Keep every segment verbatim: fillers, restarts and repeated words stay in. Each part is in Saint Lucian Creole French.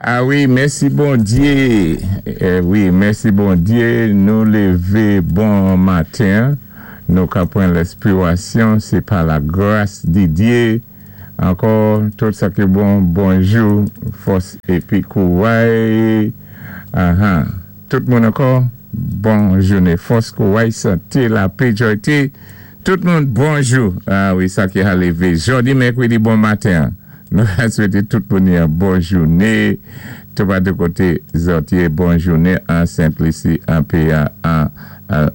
Ah wi, mèsi Bondyé. Eh, wi, mèsi Bondyé. Nou lévé bon maten. Nou ka pran lèspirasyon, sé pa la gras di Dyé. Ankò, tout sa ki bon, bonjou, fòs épi kouray. Ah, Tout moun ankò, bon jouné. Fòs, kouray, santé, lapè, jwayté. Tout moun, bonjou. Ah wi, sa ki a lévé. Jòdi mèkwédi, bon maten. Nou ka swété tout moun yon bon jouné. Tout pa de koté zòt yé, bon jouné an Sent-Lisi, an péyi an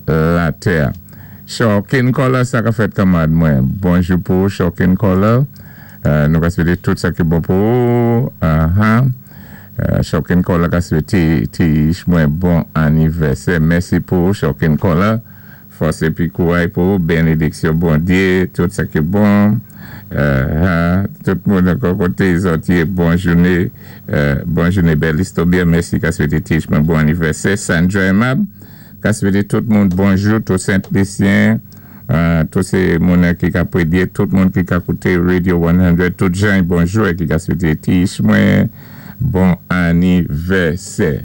latè. Shokin Kola, sa ka fèt kanmarad mwen. Bonjou pou Shokin Kola. Euh, nou ka swété tout sa ki bon pou ou. Uh-huh. Euh, Shokin Kola ka swété ti mwen bon anivèsè. Mèsi pou Shokin Kola. Fòs épi kouray pou bénidiksyon Bondyé, tout sa ki bon. Euh, tout moun ankò koté zòt yé, bon jouné. Euh, bon jouné bèl istobyen. Mèsi ka swété ti mwen bon anivèsè. Sandra Aimable ka swété tout moun bonjou, tout Sent-Lisyen. Euh, tout sé moun ki ka prédyé, tout moun ki ka kouté Radio san, tout jan bonjou é ki ka swété ti mwen bon anivèsè.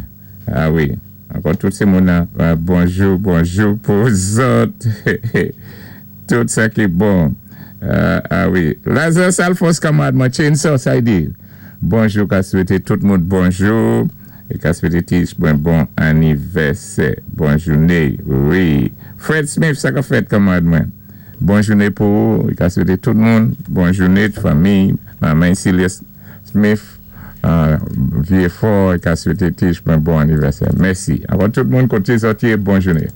Ah wi, ankò tout sé moun euh, bonjou, bonjou pou zòt. Tout sa ki bon. Euh, ah wi. Lazare Salfos kanmarad mwen, Chainsaw sa di. Bonjou ka swété tout moun bonjou. É ka swété ti mwen bon anivèsè. Bon jouné. Wi. Fred Smith, sa ka fèt kanmarad mwen. Bon jouné pou ou. É ka swété tout moun. Bon jouné, fanmi. Manman Celia Smith. Euh, vyé fò. É ka swété ti mwen bon anivèsè. Mèsi. Ankò tout moun koté zòt yé, bon jouné.